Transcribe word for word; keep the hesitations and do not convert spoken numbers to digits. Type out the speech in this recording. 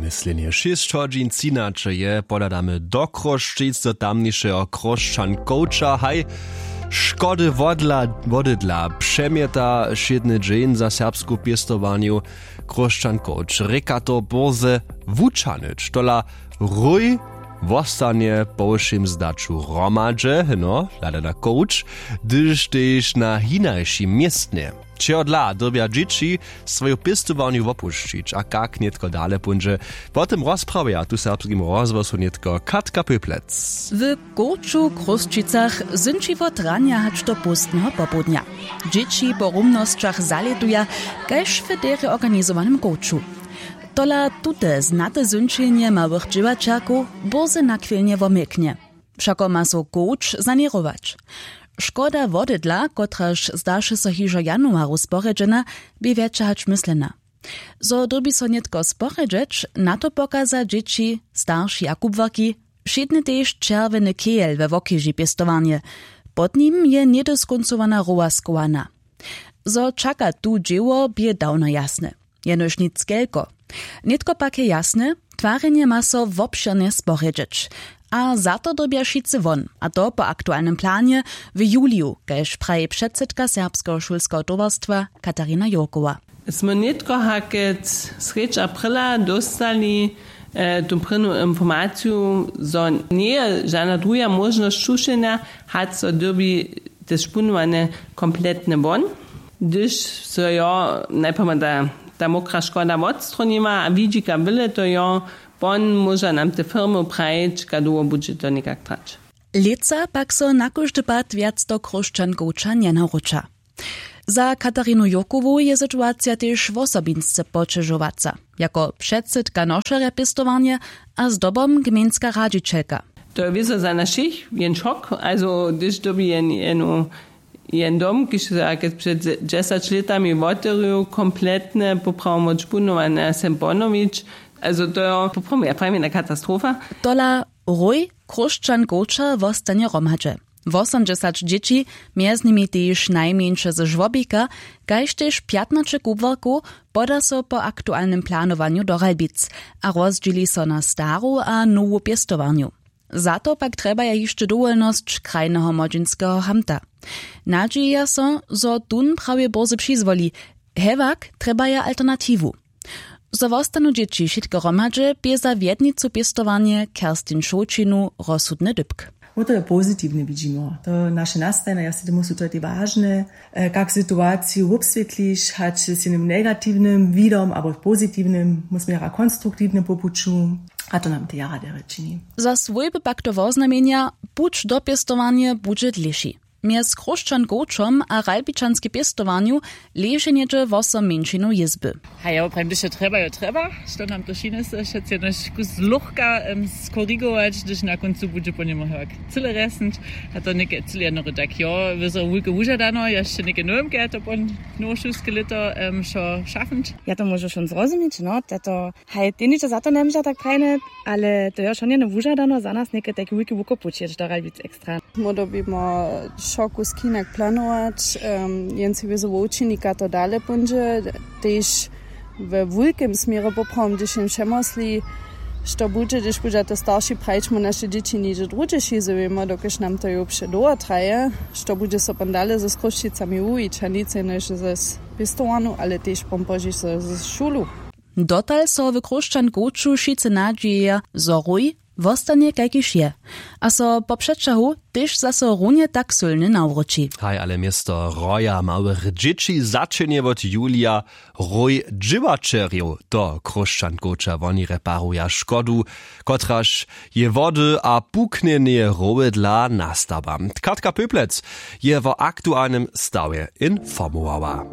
Myslenje šěsć hodźin třinaće je, pohladamy do Chrósćic, do tamnišeho Chrósćan coacha. Haj, škody wodla wodydla přemjeta wšědny dźeń za serbsku pěstowarnju. Chrósćan coach rěka to bórze wučahnyć, tola rój wostanje po wšěm zdaću hromadźe, no hlada na coach, hdyž tež na hinašim městnje. Čehodla dyrbja dźěći swoju pěstowarnju wopušćić a kak nětko dale póńdźe, wo tym rozprawja tu w Serbskim rozhłosu nětko Katka Pöplec. W coachu w Chrósćicach zynči wot ranja hač do póstneho popołdnja. Dźěći po rumnosćach zalětuja, kaž w derje organizowanym coachu. Tola tute znate zynčenje małych dźěłaćerkow bórze nachwilnje womilknje. Wšako ma so coach saněrować. Škoda wodydla, kotraž zdaše so hižo w januaru sporjedźena, bě wjetša hač myslena. Zo dyrbi so nětko sporjedźeć, na to pokaza dźěći, starši a kubłarki. Wšědny tež čerwjeny kejel we wokeži pěstowarnje. Pod nim je něhdy skóncowana rowa schowana. Zo čaka tu dźěło, bě dawno jasne. Jenož nic kelko. Nětko pak je jasne, twarjenje ma so wobšěrnje sporjedźeć. A za to dyrbja wšitcy won, a to po aktualnym planje w juliju, kaž praji předsydka serbskeho šulskeho towarstwa Katarina Jurkowa. Smy nětko hakec srjedź aprila dóstali tu prěnu informaciju, zo njeje žana druha móžnosć čušenja, hač so dyrbi te špunowanje kompletne won. Hdyž so jo najprjema ta mokra škoda wotstronima a widźika wyle to jo, pon móža nam te firmy prajić, kaž dołho budźe to někak trać. Lětsa pak so na kóždy pad wjac do chróšćankow ča njenawróća. Za katarinu jurkowu je situacija tež wosobinsce poćežowaca. Jako předsydka nošerja pěstowarnje a zdobom gmejnska radźićelka. To je wězo za nas wšěch jen šok, also hdyž dyrbi jen jenu jen dom kiž so jak před dźesać lětami wotewrju kompletne poprawom wot špunowanjasem ponowić. Also to jo poprawom ja prajim jedna katastrofa. Tola rój chróšćan coacha wostanje hromadźe. Wosomdźesać dźěći, mjez nimi tež najmjeńše ze žłobika, kaž tež pjatnaće kubłarkow, poda so po aktualnym planowanju do ralbic a rozdźěli so na staru a nowu pěstowarnju. Za to pak trjebaja hišće dowolnosć krajneho młodźinskeho hamta. Nadźijeja so, zo tón prawje bórze přizwoli. Hewak trjebaja alternatiwu. Zo wostanu dźěći wšitke hromadźe, bě za wjednicu pěstowarnje kerstin šołćinu rozsudny dypk. Wo to je pozitiwnje widźimo to naše nastajnje ja sej tomu su to tej wažne. Kak situaciju wobswětliš hač z jenym negatiwnym widom abo pozitiwnym móžemy jara konstruktiwnje po puću. A to nam tej jara derje čini. Za swójby pak to woznamjenja, puć do pěstowarnje budźe dlěši. Mjez chróšćan coachom a ralbičanskej pěstowarnju leže něhdźe wosom mjeńšinow jězby. Haj ja woprajim hdyž jo trjeba jo trjeba, što nam to šinje so wšetc jenož kus luchka skorigować hdyž na kóncu budźe po němu hewak cyle rjesnyć. A to něke cyle jednory tak jo wězo wulke wužadano ja hišće něke nowemke ja to po nowošulske lěto wšo šafnyć. Ja to móžu wšón zrozumić no tato. Haj tehnitše za to njemóža tak prajne, ale to jo wšón jeno wužadano za nas něke tajki wulki wukopuć jědź do ralbic ekstra. Móhł bimo wšo kusk hinak planować. Jen sej wězo wo wučinika to dale póńdźe, tež we wulkem směrje poprawom hdyž jen přemosli, što budźe hdyž budźa to starši prajić mu naše dźěći něhdźe druhdźe šizowjemo dokelž nam to jo předołho traje, što budźe so pon dale z chrósćicami wuwić a nic jenož z pěstowarnu ale tež pon pozdźiš z šulu. Dotal so w chróšćan coachu wšitcy nadźijeja, zo rój wostanje kajkiž je a so po přećahu tež zaso runje tak sylnje nawróći. Haj ale město roja małych dźěći začenje wot julija rój dźěłaćerjow do chróšćan coacha woni reparuja škodu, kotraž je wody a puknjenje rowedla nastała. Katka pöplec je wo aktualnym stawje informowała.